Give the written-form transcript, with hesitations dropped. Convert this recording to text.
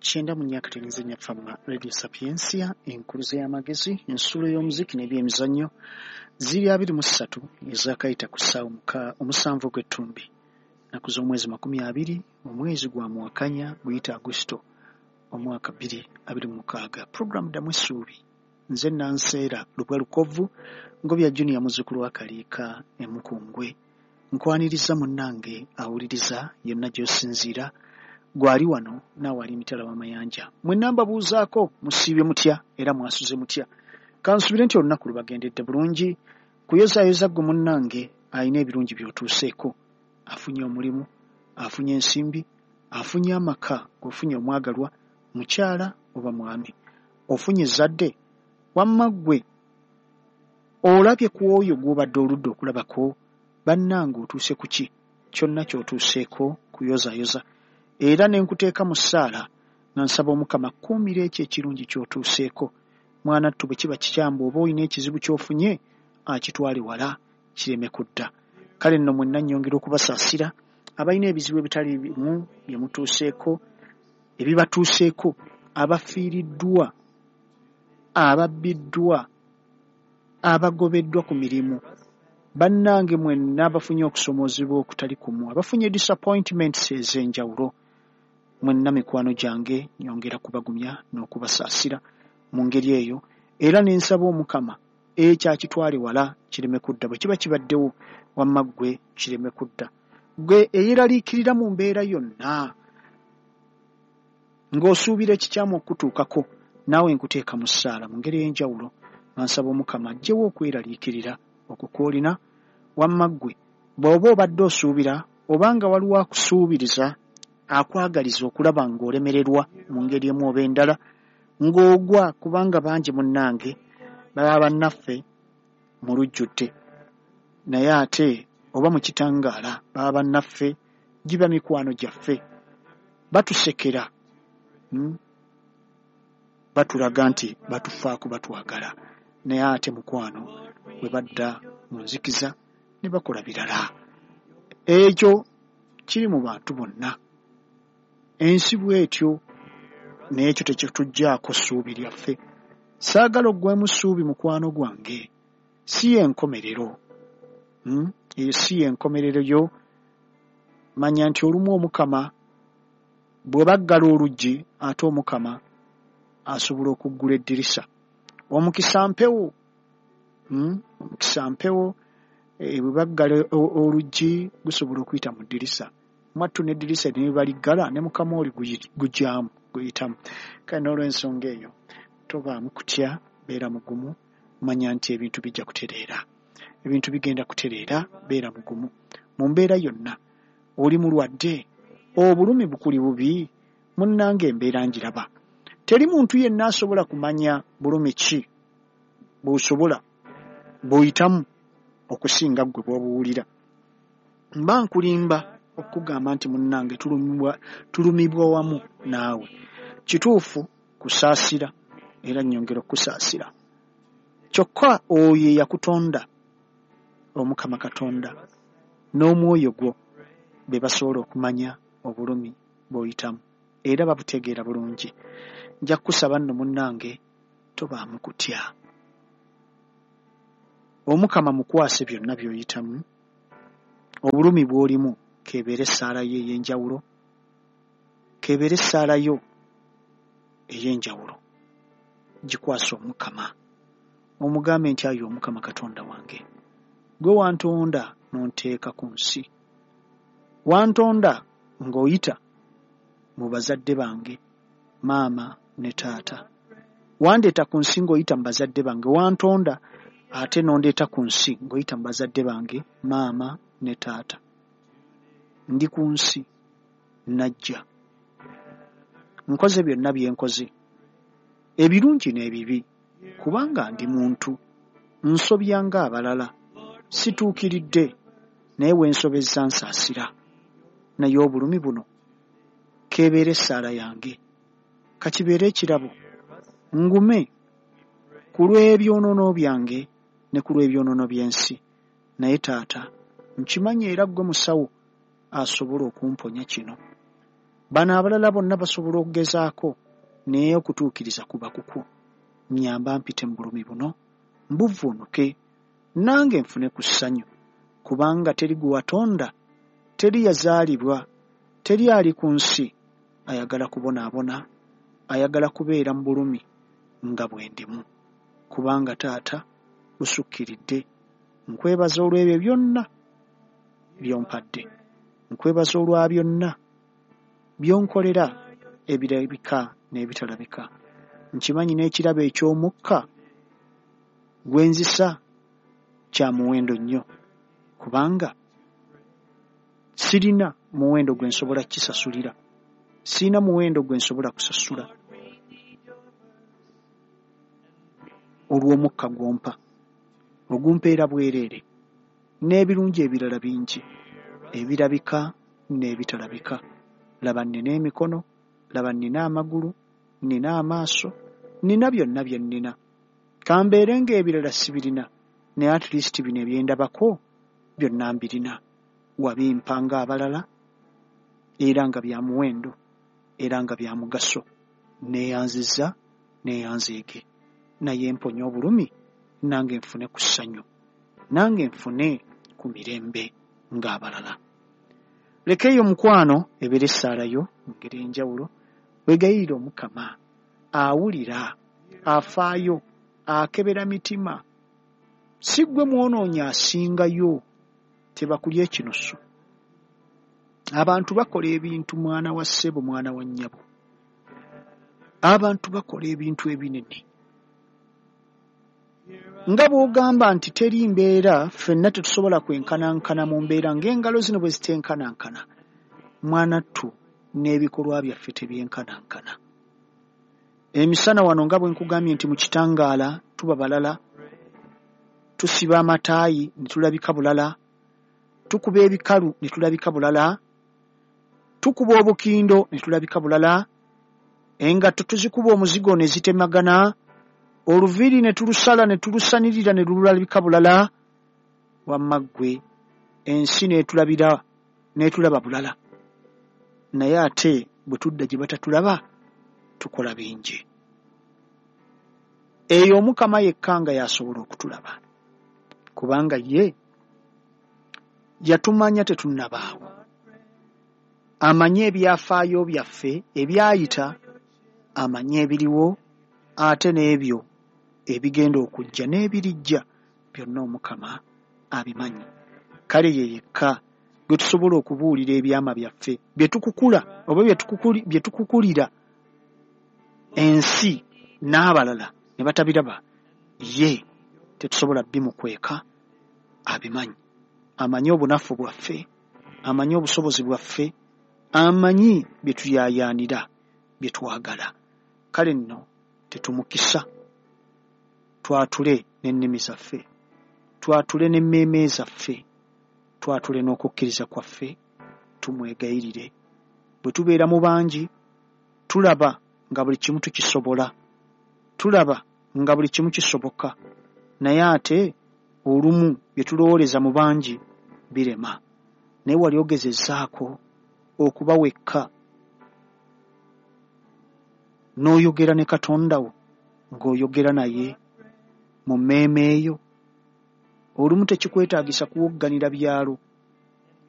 94.4 Fama Radio Sapientia, enkuluze y'amagezi, ensulo y'omuziki n'ebyemizannyo ziri 23 ezakayita ku ssaawa 7 ogw'ettumbi, nnaku z'omwezi 20 omwezi gwa Muwakanya guyita Agusito omwaka 2026. Pulogulaamu Ddamu Essuubi, nze Nanseera Lubwa Lukovvu Ngobya Junior muzzukulu wa Kaliika e Mukungwe. Nkwaniriza munnange awuliriza yonna gy'osinziira, gwali wano naawe ali emitala w'amayanja. Mwenna mbabuuzaako musiibye mutya era mwasuze mutya? Kansuubire nti olunaku lubagendedde bulungi. Kuyozaayoza ggwe munnange alina ebirungi by'otuuseeko, afunye omulimu, afunye ensimbi, afunye amaka, ofunye omwagalwa, mukyala oba mwami, ofunye ezzadde, wamma ggwe olabye ku oyo gw'obadde oludde okulabako, bannange otuuse ku ki? Kyonna ky'otuuseeko kuyozaayoza. Era ne nkuteeka mu ssaala nga nsaba Omukama akkuumire ekyo ekirungi ky'otuuseeko. Mwana ttu bwe kiba kikyamu bw'oba olina ekizibu ky'ofunye akitwale wala kireme kudda. Kale nno mwenna nnyongera okubasaasira abalina ebizibu ebitali bimu bye mutuuseeko, ebibatuuseeko, abafiiriddwa, ababbiddwa, abagobeddwa ku mirimu. Bannange mwenna abafunye okusoomoozebwa okutali kumu, abafunye disappointments ez'enjawulo, mwenna mikwano gyange nyongera kubagumya n'okubasaasira mu ngeri eyo, era ne nsaba Omukama ekyo akitwale wala kireme kudda. Bwe kiba kibaddewo wamma ggwe kireme kudda. Ggwe eyeeraliikirira mu mbeera yonna ng'osuubira ekikyamu okukutuukako, naawe nkuteeka mu ssaala mu ngeri ey'enjawulo nga nsaba Omukama aggyewo okweraliikirira okwo kw'olina. Wamma ggwe bw'oba obadde osuubira oba nga waliwo akusuubiriza akwagaliza okulaba ng'olemererwa mu ngeri emu oba endala, ng'ogwa, kubanga bangi munnange baba bannaffe mu lujjudde, naye ate oba mu kitangaala baba bannaffe, giba mikwano gyaffe, batusekera, batulaga nti batufaako, batwagala, naye ate mukwano bwe badda mu nzikiza ne bakola birala. Ekyo kiri mu bantu bonna, ensi bw'etyo, n'ekyo tekituggyaako ssuubi lyaffe. Saagala oggweemu ssuubi mukwano gwange, si y'enkomerero, eyo si y'enkomerero yo. Manya nti olumu Omukama bwe baggala oluggi, ate Omukama asobola okuggula eddirisa. Omukisa mpewo, omukisa mpewo, bwe baggala oluggi gusobola okuyita mu ddirisa. Mwattu n'eddirisa ne baliggala ne Mukama oli gujyamu guyitamu. Kale n'olw'ensonga eyo tobaamu kutya, beera mugumu, manya nti ebintu bijja kutereera. Ebintu bigenda kutereera, beera mugumu. Mu mbeera yonna, oli mulwadde, obulumi bukuli bubi, munnange embeera ngiraba. Teri muntu yenna asobola kumanya bulumi ki bw'osobola bw'oyitamu okusinga ggwe bw'obuwulira. Mba nkulimba okugamba nti munnange tulumibwa wamu naawe. Kituufu kusaasira era nnyongera okukusaasira. Kyokka oyo eyakutonda, Omukama Katonda, n'omwoyo gwo be basobola okumanya obulumi bw'oyitamu era babutegeera bulungi. Nja kukusaba nno munnange tobaamu kutya. Omukama mukwase byonna by'oyitamu, obulumi bw'olimu k'ebeere essaala yo ey'enjawulo, k'ebeere essaala yo ey'enjawulo, gikwase Omukama. Omugambe nti ayi Omukama Katonda wange, ggwe wantonda n'onteeka ku nsi, wantonda ng'oyita mu bazadde bange, maama ne taata. Wandeeta ku nsi ng'oyita mu bazadde bange, wantonda ate n'ondeeta ku nsi ng'oyita mu bazadde bange, maama ne taata. Ndi ku nsi najja, nkoze byonna bye nkoze, ebirungi n'ebibi, kubanga ndi muntu, nsobya ng'abalala, situukiridde, naye we nsobezza nsaasira. Naye obulumi buno k'ebeere essaala yange, ka kibeere ekirabo, ngume ku lw'ebyonoono byange ne ku lw'ebyonoono by'ensi. Naye taata, nkimanyi era ggwe musawo asobola okumponya kino. Bano abalala bonna basobola okugezaako, naye okutuukiriza kuba kukwo. Nnyamba mpite mu bulumi buno, mbuvvuunuke, nange nfune ku ssanyu, kubanga teri gwe watonda, teri yazaalibwa, teri ali ku nsi ayagala kubonaabona, ayagala kubeera mu bulumi nga bwe ndimu. Kubanga taata busukkiridde. Nkwebaza olw'ebyo byonna by'ompadde. Nkwebaza olwa byonna by'onkolera ebirabika n'ebitalabika. Nkimanyi n'ekirabo eky'omukka gwe nzisa kya muwendo nnyo, kubanga sirina muwendo gwe nsobola kukisasulira, sirina muwendo gwe nsobola kusasula olw'omukka gw'ompa, ogumpeera bwereere, n'ebirungi ebirala bingi ebirabika n'ebitalabika. Laba nnina emikono, laba nnina amagulu, nnina amaaso, nnina byonna bye nnina. Ka mbeere ng'ebirala sibirina, naye at least bino ebyendabako byonna mbirina. Wabimpa ng'abalala era nga bya muwendo era nga bya mugaso. Nneeyanzizza, nneeyanzeege. Naye mponya obulumi nange nfune ku ssanyu, nange nfune ku mirembe ng'abalala. Leka eyo mukwano ebeere essaala yo mu ngeri ey'enjawulo, weegayirire Omukama awulira, afaayo, akebera mitima. Si ggwe mwonoonyi asingayo, tebakulya ekinusu. Abantu bakola ebintu mwana wa ssebo, mwana wa nnyabo. Abantu bakola ebintu ebinene. Nga bw'ogamba nti teri mbeera, ffenna tetusobola kwenkanankana mu mbeera ng'engalo zino bwe zitenkanankana. Mwanattu n'ebikolwa byaffe tebyenkanankana. Emisana wano nga bwe nkugambye nti mu kitangaala tuba balala, tusiba amataayi ne tulabika bulala, tukuba ebikalu ne tulabika bulala, tukuba obukindo ne tulabika bulala, engatto tuzikuba omuzigo ne zitemagana, oluviiri ne tulusala ne tulusanirira ne lulabika bulala, wamma ggwe ensi n'etulabira n'etulaba bulala. Naye ate bwe tudda gye batatulaba tukola bingi. Eyo Omukama yekka nga y'asobola okutulaba, kubanga ye yatumanya tetunnabaawo. Amanyi ebyafaayo byaffe ebyayita, amanyi ebiriwo ate n'ebyo ebigenda okujja n'ebirijja byonna Omukama abimanyi. Kale ye yekka gwe tusobola okubuulira ebyama byaffe bye tukukula oba bye tukukulira ensi n'abalala ne batabiraba, ye tetusobola bimukweka, abimanyi. Amanyi obunafu bwaffe, amanyi obusobozi bwaffe, amanyi bye tuyaayaanira, bye twagala. Kale nno tetumukisa, twatule n'ennimi zaffe, twatule n'emmeeme zaffe, twatule n'okukkiriza kwaffe, tumwegayirire. Bwe tubeera mu bangi, tulaba nga buli kimu tukisobola, tulaba nga buli kimu kisoboka, naye ate olumu bye tulowooleza mu bangi birema. Naye wali ogezezzaako okuba wekka n'oyogera ne Katonda wo ng'oyogera naye mu mmeeme yo? Olumu tekikwetaagisa kuwogganira byalo.